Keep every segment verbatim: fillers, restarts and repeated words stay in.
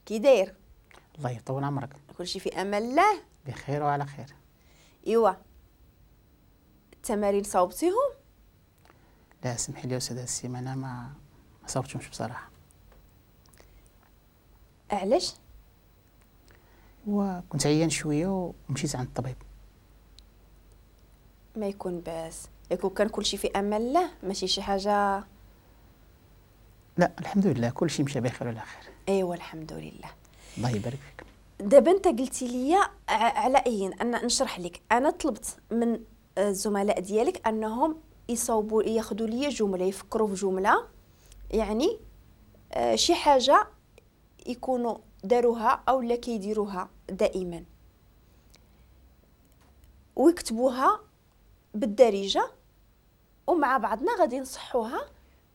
كي داير؟ الله يطول عمرك. كلشي في امان الله؟ بخير وعلى خير. ايوا التمارين صوبتيهم؟ لا سمحي لي استاذه، السيمانة ما ما صوبتهمش بصراحة. علاش؟ وكنت عيان شوية ومشيت عند الطبيب. ما يكون باس، يكون كان كلشي في امان الله، ماشي شي حاجة. لا الحمد لله كلشي مشى بخير وعلى خير. ايوا الحمد لله. الله يبارك فيك. دابا انت قلتي لي على اين انا نشرح لك. انا طلبت من الزملاء ديالك انهم يصوبوا ياخذوا لي جملة، يفكروا في جملة يعني شي حاجة يكونوا داروها او لا كيديروها دائما ويكتبوها بالدارجة، ومع بعضنا غادي نصحوها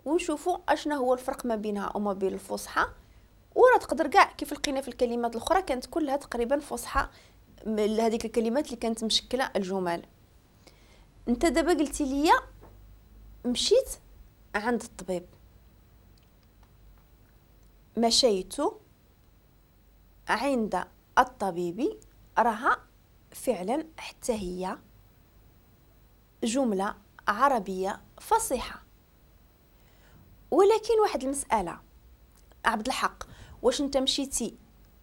ونشوفوا اشنا هو الفرق ما بينها وما بين الفصحى. وراه تقدر كاع كيف لقينا في الكلمات الاخرى كانت كلها تقريبا فصحى، هذيك الكلمات اللي كانت مشكلة الجمل. انت دابا قلتي لي مشيت عند الطبيب، مشيت عند الطبيب، راها فعلا حتى هي جملة عربية فصيحة. ولكن واحد المسالة عبد الحق، واش انت مشيتي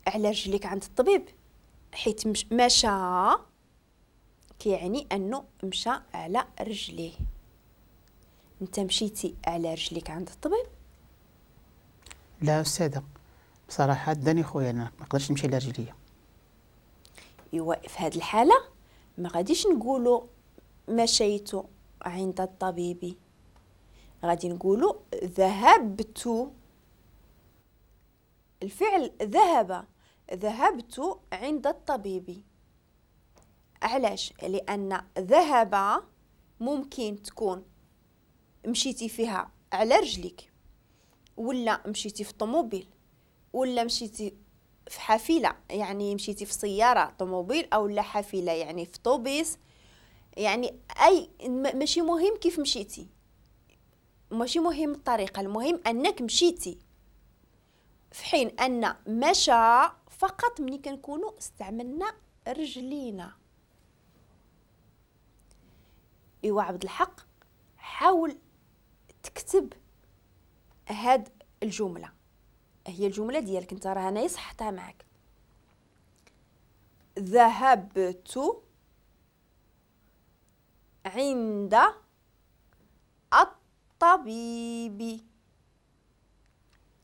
على رجليك عند الطبيب؟ حيت مشى كيعني انه مشى على رجليه. انت مشيتي على رجليك عند الطبيب؟ لا استاذه بصراحة داني خويا، انا ما نقدرش نمشي على رجليا. ايوا في هذه الحالة ما غاديش نقولوا مشيت عند الطبيب، غادي نقولوا ذهبت. الفعل ذهب، ذهبت عند الطبيب. علاش؟ لان ذهب ممكن تكون مشيتي فيها على رجلك، ولا مشيتي في طوموبيل، ولا مشيتي في حافلة، يعني مشيتي في سيارة طوموبيل او لا حافلة يعني في طوبيس، يعني اي ماشي مهم كيف مشيتي، ماشي مهم الطريقة، المهم انك مشيتي. في حين ان مشى فقط ملي كنكونوا استعملنا رجلينا. ايوا عبد الحق حاول تكتب هاد الجملة، هي الجملة ديالك انت، راه انا صحتها معاك. ذهبت عند الطبيب.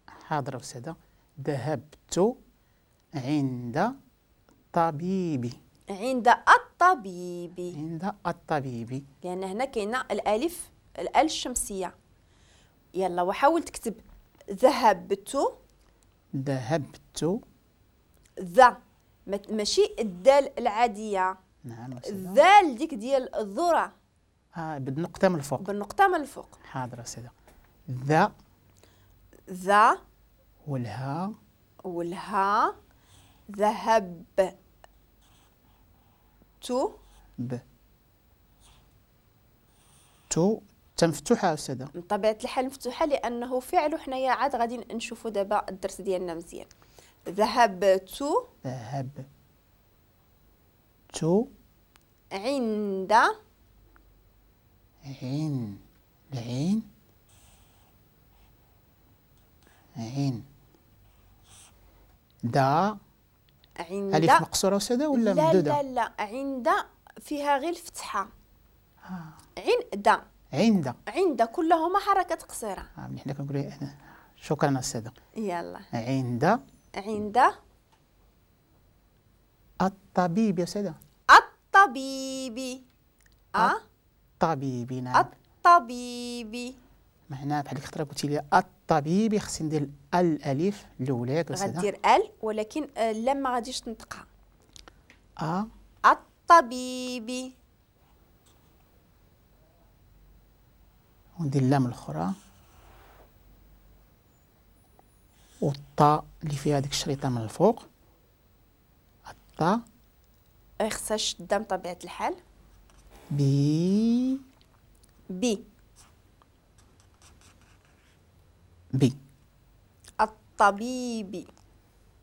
حاضر أستاذة. ذهبت عند الطبيب. عند الطبيب. عند الطبيب، لأن هنا كاينة الألف، الأل الشمسية. يلا وحاول تكتب ذهبت. ذهبت ذا، ماشي الدال العادية. نعم الذال ديك ديال الذرة. اه بالنقطة من الفوق. بالنقطة من الفوق. حاضر أستاذة. ذا ذا والها والها ذهب تو ب تو تمفتوحة أستاذة. من طبيعة الحال مفتوحة لأنه فعل، وحنايا عاد غادي نشوفوا دابا الدرس ديالنا مزيان. ذهبت ذهب تو عند عين العين عين دا عند ألف مقصورة أستاذة ولا ممدودة؟ لا لا لا، عند فيها غير الفتحة. آه. عند عند عند كلهما حركات قصيرة. آه حنا كنقولوا شكرا أستاذة. يلا عند عند الطبيب يا أستاذة. الطبيب. أه الطبيب. نعم الطبيب. معناها بحال الخطرة قلتي لي الطبيب خصني ندير الالف الاولى ياك أستاذة؟ غدير ال، ولكن لا ما غاديش تنطقها. ا الطبيب. وندير اللام الاخرى والطاء اللي فيها ديك الشريطه من الفوق. الطاء خصها الشدة بطبيعة الحال. بي بي بي الطبيب.